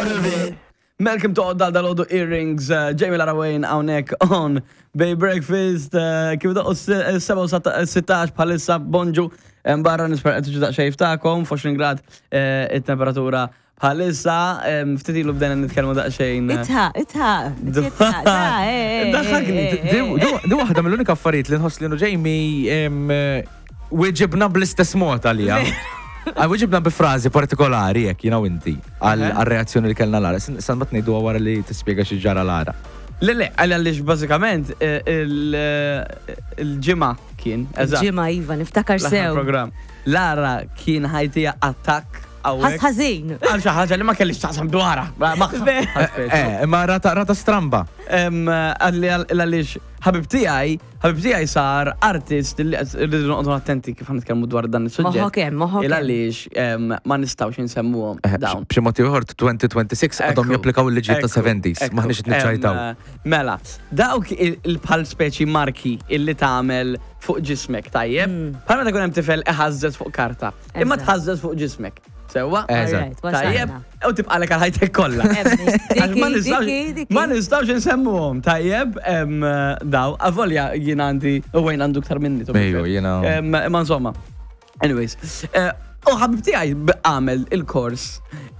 out of it. Malcolm toqgħod dal dal earrings, eh, Jamie Lara Wayne hawnhekk on Bay Breakfast, eh, kif doqqu s-7 bħalissa bonġu barra nispera qed tiġu daqsxejn ftakom, 20 grad eh, it-temperatura bħalissa, ftit ilu bdejna nitkellmu daqsxejn. Itħa, itħa. Itħa, Daħħakni. Di waħda mill-unika affarijiet li nħoss li nu Jamie weġibna bl-istess mod għalija. Weġibna bi frażi partikolari jekk jiena u inti għal-reazzjoni li kellna Lara. San bat ngħiduha wara li tispjega xi ġara Lara. Le, le, għaliex bażikament il-ġimgħa kien. Il-ġimgħa iva, niftakar sew. Program. Lara kien ħajtija attakk Ħas ħażin. Għal xi ħaġa li ma kellix taqsam dwarha. Eh, imma rata rata stramba. Għaliex ħabib tiegħi, ħabib tiegħi sar artist li rridu noqogħdu attenti kif nitkellmu dwar dan is-suġġett. Moħħok hemm, moħħok hemm. Għaliex ma nistgħux insemmuhom eh, dawn. B'xi mod ieħor 2026 għadhom japplikaw il-liġijiet ta' 70s, maħniex qed niċċajtaw. Mela, dawk il-bħal speċi marki illi tagħmel fuq ġismek tajjeb, mm. bħal meta jkun hemm tifel iħażżeż fuq karta. Imma tħażżeż fuq ġismek. Sewwa? Eżatt. Tajjeb, u tibqalek għal ħajtek kollha. Ma nistgħux insemmuhom, tajjeb, daw, avolja jien għandi u wejn għandu ktar minni. Ejju, jiena. Imma insomma. Anyways, eh, u ħabib tiegħi għamel il-kors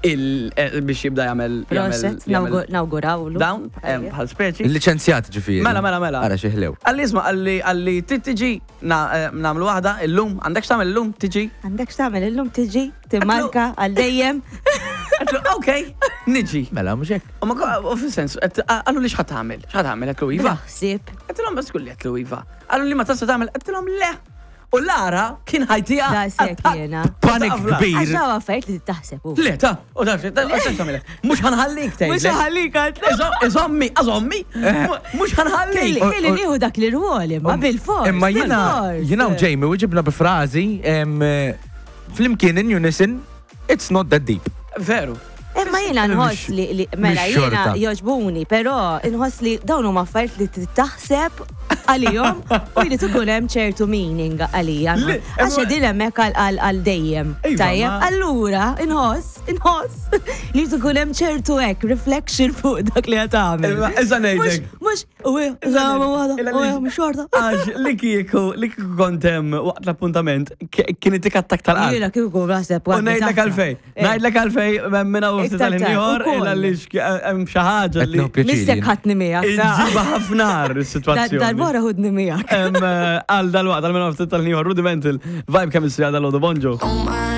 eh, biex jibda jagħmel. Proset, nawgurawlu. Dawn, bħal speċi. Il-liċenzjat ġifieri. Mela, mela, mela. Ara xi ħlew. Għalli isma' għalli għalli tiġi eh, nagħmlu waħda illum, għandek x'tagħmel illum tiġi? Għandek x'tagħmel illum tiġi, timmarka għal dejjem. Ok, niġi. Mela, mhux hekk. U ma u fis-sens, għallu li x'ħat tagħmel? X'ħat tagħmel għedtlu iva. Ħsieb. Għedtilhom bas kulli għedtlu iva. Għallu li ma tista' tagħmel, għedtilhom le. U Lara kien ħajtija. Daqshekk jiena. Panik kbir. Għax daw affarijiet li taħseb. Le, ta, u taf, mhux ħanħallik tgħid. Mhux ħanħallik għad. Iżommi, iżommi, mhux ħanħallik. Kelli nieħu dak li rwol imma bil-fors. Imma jiena jiena u Jamie u ġibna bi frażi flimkien in unison It's not that deep. Veru. Imma jiena nħoss li mela jiena joġbuni, però nħoss li dawn huma affarijiet li trid taħseb għalihom u jrid ikun hemm ċertu meaning għalija. Għax qegħdin hemmhekk għal dejjem. Iva, Tajjeb, allura inħoss, inħoss li jrid ikun hemm ċertu hekk reflection fuq dak li qed tagħmel. Issa ngħidlek. Mhux U xorta. Għax li kieku, li kieku kontem waqt l-appuntament, kien itik attak tal-qalb. Jiena kieku naħseb U ngħidlek għalfej. Eh. Ngħidlek għalfej minna u ftit tal-ieħor għaliex hemm xi ħaġa li. Missek ħadni miegħek. Ġiba ħafnar is-sitwazzjoni. Darbora ħudni miegħek. Eh, għal dal-waqt għal minna u ftit tal-ieħor rudimental vibe chemistry għal dal-għodu bonġu. Oh my.